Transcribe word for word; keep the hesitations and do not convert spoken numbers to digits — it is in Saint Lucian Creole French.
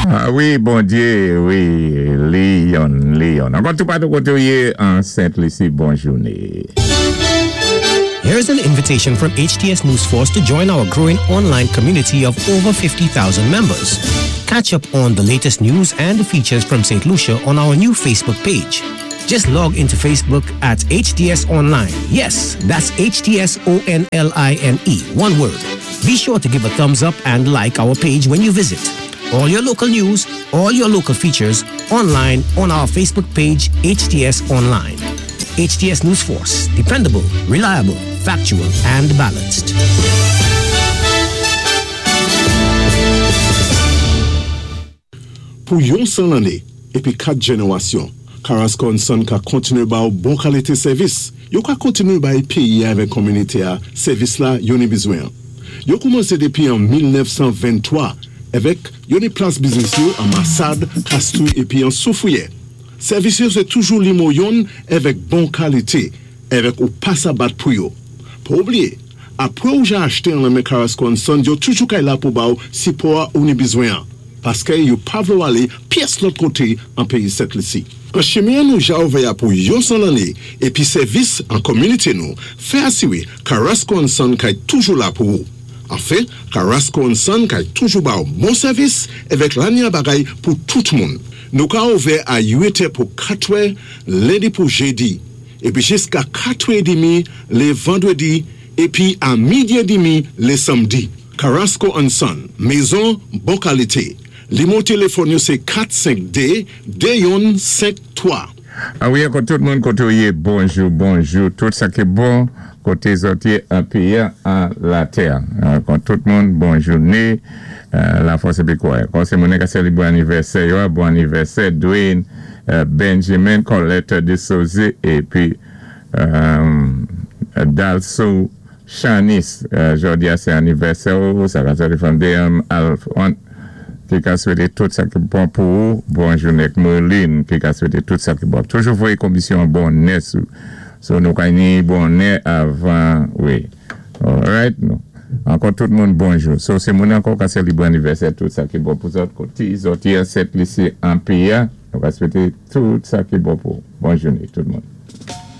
Ah wi, Bondyé, wi, Leon, Leon. Ankò toupatou koté ou yé an Sent Lisi, bon jouné. Here's an invitation from H T S News Force to join our growing online community of over fifty thousand members. Catch up on the latest news and features from Saint Lucia on our new Facebook page. Just log into Facebook at H T S Online. Yes, that's H T S O N L I N E, one word. Be sure to give a thumbs up and like our page when you visit. All your local news, all your local features, online on our Facebook page, H T S Online. H T S News Force, dependable, reliable, factual, and balanced. Pou yon san lanné épi kat jénéwasyon, Carrasco and Son ka kontiné ba ou bon kalité sèvis. Yo ka kontiné bay péyi avèk kominité a sèvis la yo ni bizwen. Yo koumansé dépi an mil nèf san venntwa avèk yo ni plas biznis yo an Massade, Castries épi an Soufrière. Sèvis yo sé toujou nimewo youn avèk bon kalité, avèk ou pa sa bat pou yo. Pa oubliyé, apwé ou ja achté an nan men Carrasco and Son, yo toujou kay la pou ba ou sipò a ou ni bizwen an. Paské yo pa vlé ou alé pyès lòt koté an péyi Sent Lisi. An chimen nou ja ouvè pou yon san lanné épi sèvis an kominité nou, fè asiwé Carrasco and Son kay toujou la pou ou. Anfen, Carrasco and Son kay toujou ba ou bon sèvis avèk lanya bagay pou tout moun. Nou ka ouvè a uit è pou katwè, lendi pou jédi, épi jiska katwè édmi lé vandwédi, épi a midi édmi lé sanmdi. Carrasco and Son, mézon bon kalité. Nimewo téléfòn yo sé kat senk dé de youn senk twa. Ah wi, ankò tout moun koté ou yé, bonjou, bonjou, tout sa ki bon, koté zòt yé an péyi an latè. Ankò tout moun, bon jouné, euh, la fòs épi kwè. Kon sé moun ka sélébwé anivèsè yo, bon anivèsè, Dwayne, euh, Benjamin, Colette de Souza, épi euh, Dalso Chanis, euh, jòdi a sé anivèsè ou, sa va téléfòn D M Alphon, ki ka swété tout sa ki bon pou ou, bon jouné Merlin, ki ka swété tout sa ki bon. Toujou voyé konbisyon bonnè sou, so nou ka ni bonnè avan, wi. Alright, nou. Ankò tout moun bonjou. So sé moun ankò ka sélébwé anivèsè, tout sa ki bon pou zòt koté, zòt yé Sent Lisi an péyi a, nou ka swété tout sa ki bon pou. Bon jouné tout moun.